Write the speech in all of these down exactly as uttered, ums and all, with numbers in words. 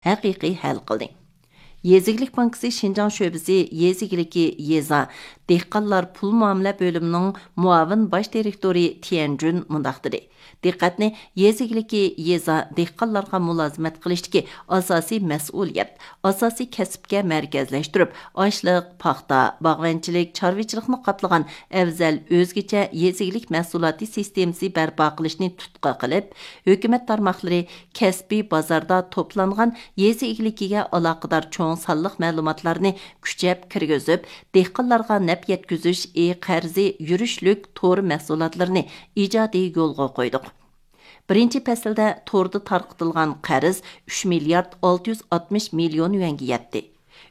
ھەقىقىي ھەل قىلدى. يېزا ئىگىلىك بانكىسى شىنجاڭ شۆبىسى يېزا ئىگىلىكى يېزا دېھقانلار پۇل مۇئامىلە بۆلۈمىنىڭ مۇئاۋىن باش دىرېكتورى تيەن جۈن مۇنداق دېدى: دىققەتنى يېزا ئىگىلىكى يېزا دېھقانلارغا مۇلازىمەت قىلىشتىكى ئاساسىي مەسئۇلىيەت، ئاساسىي كەسىپكە مەركەزلەشتۈرۈپ، ئاشلىق، پاختا، باغۋەنچىلىك، چارۋىچىلىقنى قاپلىغان ئەۋزەل ئۆزگىچە يېزا ئىگىلىك مەھسۇلاتى سىستېمىسى بەرپا قىلىشنى تۇتقا قىلىپ، ھۆكۈمەت تارماقلىرى كەسپىي بازاردا توپلانغان يېزا ئىگىلىكىگە ئالاقىدار چوڭ سانلىق مەلۇماتلارنى كۈچەپ كىرگۈزۈپ، دېھقانلارغا نەپ يەتكۈزۈش ئى قەرزى يۈرۈشلۈك تور مەھسۇلاتلىرىنى ئىجادىي يولغا قويدۇق. بىرىنچى پەسىلدە توردا تارقىتىلغان قەرز ئۈچ مىليارد ئالتە يۈز ئاتمىش مىليون يۈەنگە يەتتى.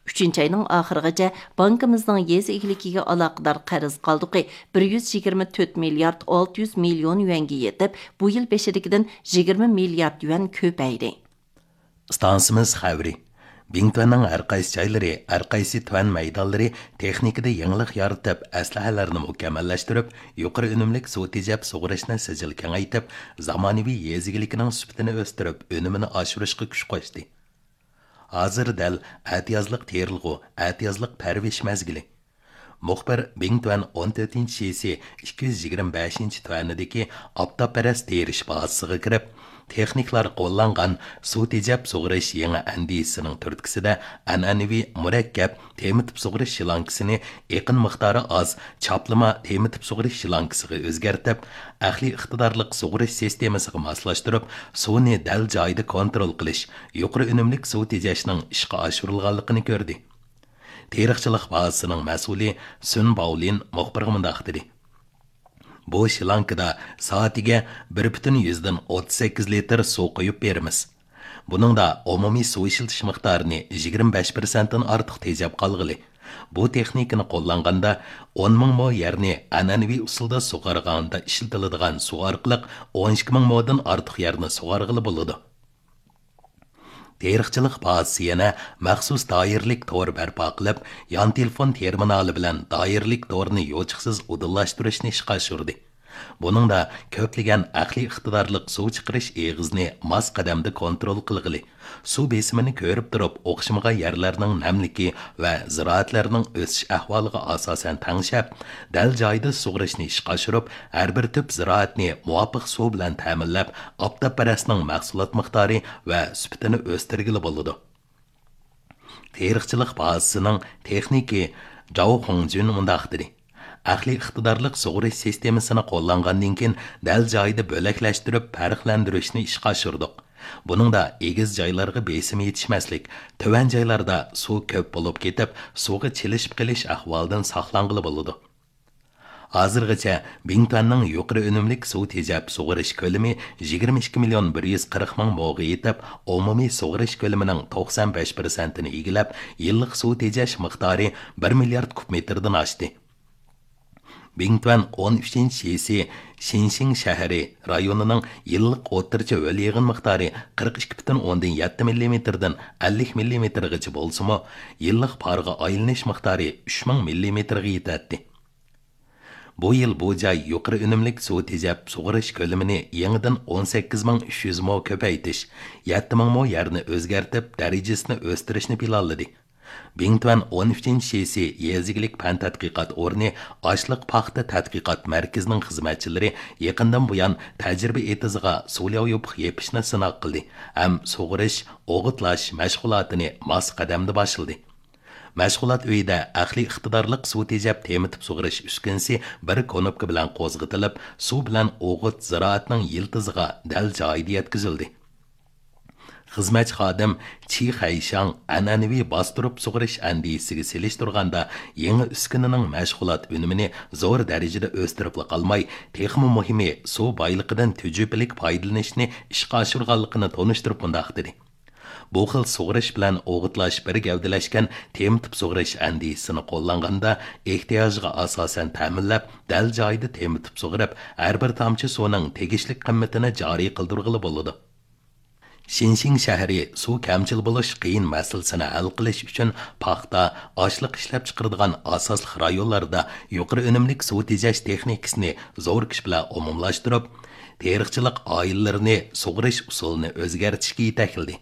ئۈچىنچى ئاينىڭ ئاخىرىغىچە بانكىمىزنىڭ يېزا ئىگىلىكىگە ئالاقىدار قەرز قالدۇقى بىر يۈز يىگىرمە تۆت مىليارد ئالتە يۈز مىليون يۈەنگە يېتىپ، بۇ يىل بېشىدىكىدىن يىگىرمە مىليارد يۈەن كۆپەيدى. ئىستانسىمىز خەۋىرى. بىڭتۈەننىڭ ھەر قايسى جايلىرى، ھەر قايسى تۈەن مەيدانلىرى تېخنىكىدا يېڭىلىق يارىتىپ، ئەسلىھەلەرنى مۇكەممەللەشتۈرۈپ، يۇقىرى ئۈنۈملۈك سۇ تېجەپ سۇغىرىشنى سىجىل كېڭەيتىپ، زامانىۋى يېزا ئىگىلىكىنىڭ سۈپىتىنى ئۆستۈرۈپ، ئۈنۈمىنى ئاشۇرۇشقا كۈچ قوشتى. ھازىر دەل ئەتىيازلىق تېرىلغۇ، ئەتىيازلىق پەرۋىش مەزگىلى. مۇخبىر بىڭتۈەن ئون تۆتىنچى شىسى ئىككى يۈز يىگىرمە بەشىنچى تۈەنىدىكى ئاپتاپپەرەس تېرىش بازىسىغا كىرىپ، تېخنىكلار قوللانغان سۇ تېجەپ سۇغىرىش يېڭى ئەندىزىسىنىڭ تۈرتكىسىدە ئەنئەنىۋى مۇرەككەپ تېمىتىپ سۇغىرىش شلانكىسىنى ئېقىن مىقدارى ئاز چاپلىما تېمىتىپ سۇغىرىش شلانكىسىغا ئۆزگەرتىپ، ئەقلىي ئىقتىدارلىق سۇغىرىش سىستېمىسىغا ماسلاشتۇرۇپ، سۇنى دەل جايىدا كونترول قىلىش، يۇقىرى ئۈنۈملۈك سۇ تېجەشنىڭ ئىشقا ئاشۇرۇلغانلىقىنى كۆردى. تېرىقچىلىق بازىسىنىڭ مەسئۇلى سۈن باۋلىن مۇخبىرغا مۇنداق دېدى: بۇ شلانكىدا سائىتىگە بىر پۈتۈن يۈزدىن ئوتتۇز سەككىز لىتىر سۇ قۇيۇپ بېرىمىز. بۇنىڭدا ئومۇمىي سۇ ئىشلىتىش مىقدارىنى يىگىرمە بەش پىرسەنتتىن ئارتۇق تېجەپ قالغىلى. بۇ تېخنىكىنى قوللانغاندا، ئون مىڭ مو يەرنى ئەنئەنىۋى ئۇسۇلدا سۇغارغاندا ئىشلىتىلىدىغان سۇ ئارقىلىق ئون ئىككى مىڭ مودىن ئارتۇق يەرنى سۇغارغىلى بولىدۇ. تېرىقچىلىق بازىسى يەنە مەخسۇس دائىرىلىك تور بەرپا قىلىپ، يان تېلېفون تېرمىنالى بىلەن دائىرىلىك تورنى يوچۇقسىز ئۇدۇللاشتۇرۇشنى ئىشقا ئاشۇردى. بۇنىڭدا كۆپلىگەن ئەقلىي ئىقتىدارلىق سۇ چىقىرىش ئېغىزىنى ماس قەدەمدە كونترول قىلغىلى، سۇ بېسىمىنى كۆرۈپ تۇرۇپ ئوخشىمىغان يەرلەرنىڭ نەملىكى ۋە زىرائەتلەرنىڭ ئۆسۈش ئەھۋالىغا ئاساسەن تەڭشەپ، دەل جايىدا سۇغىرىشنى ئىشقا ئاشۇرۇپ، ھەر بىر تۈپ زىرائەتنى مۇۋاپىق سۇ بىلەن تەمىنلەپ، ئاپتاپپەرەسنىڭ مەھسۇلات مىقدارى ۋە سۈپىتىنى ئۆستۈرگىلى بولىدۇ. تېرىقچىلىق بازىسىنىڭ تېخنىكى جاۋ خۇڭجۈن مۇنداق دېدى: ئەقلىي ئىقتىدارلىق سۇغىرىش سىستېمىسىنى قوللانغاندىن كېيىن، دەل جايىدا بۆلەكلەشتۈرۈپ پەرقلەندۈرۈشنى ئىشقا ئاشۇردۇق. بۇنىڭدا ئېگىز جايلارغا بېسىم يېتىشمەسلىك، تۆۋەن جايلاردا سۇ كۆپ بولۇپ كېتىپ، سۇغا چىلىشىپ قېلىش ئەھۋالىدىن ساقلانغىلى بولىدۇ. ھازىرغىچە بىڭتۈەننىڭ يۇقىرى ئۈنۈملۈك سۇ تېجەپ سۇغىرىش كۆلىمى يىگىرمە ئىككى مىليون بىر يۈز قىرىق مىڭ موغا يېتىپ، ئومۇمىي سۇغىرىش كۆلىمىنىڭ توقسان بەش پىرسەنتىنى ئىگىلەپ، يىللىق سۇ تېجەش مىقدارى بىر مىليارد كۇب مېتىردىن ئاشتى. بىڭتۈەن ئون ئۈچىنچى شىسى شىنشىڭ شەھىرى رايونىنىڭ يىللىق ئوتتۇرىچە ھۆل يېغىن مىقدارى قىرىق ئىككى پۈتۈن ئوندىن يەتتە مىللىمېتىردىن ئەللىك مىللىمېتىرغىچە بولسىمۇ، يىللىق پارغا ئايلىنىش مىقدارى ئۈچ مىڭ مىللىمېتىرغا يېتەتتى. بۇ يىل بۇ جاي يۇقىرى ئۈنۈملۈك سۇ تېجەپ سۇغىرىش كۆلىمىنى يېڭىدىن ئون سەككىز مىڭ ئۈچ يۈز مو كۆپەيتىش، يەتتە مىڭ مو يەرنى ئۆزگەرتىپ، دەرىجىسىنى ئۆستۈرۈشنى پىلانلىدى. بىڭتۈەن ئون ئۈچىنچى شىسى يېزا ئىگىلىك پەن تەتقىقات ئورنى ئاشلىق پاختا تەتقىقات مەركىزىنىڭ خىزمەتچىلىرى يېقىندىن بۇيان تەجرىبە ئېتىزىغا سۇلياۋ يوپۇق يېپىشنى سىناق قىلدى ھەم سۇغىرىش، ئوغۇتلاش مەشغۇلاتىنى ماس قەدەمدە باشلىدى. مەشغۇلات ئۆيىدە ئەقلىي ئىقتىدارلىق سۇ تېجەپ تېمىتىپ سۇغىرىش ئۈسكۈنىسى بىر كونوپكا بىلەن قوزغىتىلىپ، سۇ بىلەن ئوغۇت زىرائەتنىڭ يىلتىزىغا دەل جايىدا يەتكۈزۈلدى. خىزمەتچى خادىم چى خەيشاڭ ئەنئەنىۋى باستۇرۇپ سۇغىرىش ئەندىزىسىگە سېلىشتۇرغاندا، يېڭى ئۈسكۈنىنىڭ مەشغۇلات ئۈنۈمىنى زور دەرىجىدە ئۆستۈرۈپلا قالماي، تېخىمۇ مۇھىمى، سۇ بايلىقىدىن تۈجۈپىلىك پايدىلىنىشنى ئىشقا ئاشۇرغانلىقىنى تونۇشتۇرۇپ مۇنداق دېدى: بۇ خىل سۇغىرىش بىلەن ئوغۇتلاش بىر گەۋدىلەشكەن تېمىتىپ سۇغىرىش ئەندىزىسىنى قوللانغاندا، ئېھتىياجغا ئاساسەن تەمىنلەپ، دەل جايىدا تېمىتىپ سۇغىرىپ، ھەر بىر تامچە سۇنىڭ تېگىشلىك قىممىتىنى جارى قىلدۇرغىلى بولىدۇ. شىنشىڭ شەھىرى سۇ كەمچىل بولۇش قىيىن مەسىلىسىنى ھەل قىلىش ئۈچۈن پاختا، ئاشلىق ئىشلەپچىقىرىدىغان ئاساسلىق رايونلاردا يۇقىرى ئۈنۈملۈك سۇ تېجەش تېخنىكىسىنى زور كۈچ بىلەن ئومۇملاشتۇرۇپ، تېرىقچىلىق ئائىلىلىرىنى سۇغىرىش ئۇسۇلىنى ئۆزگەرتىشكە يېتەكلىدى.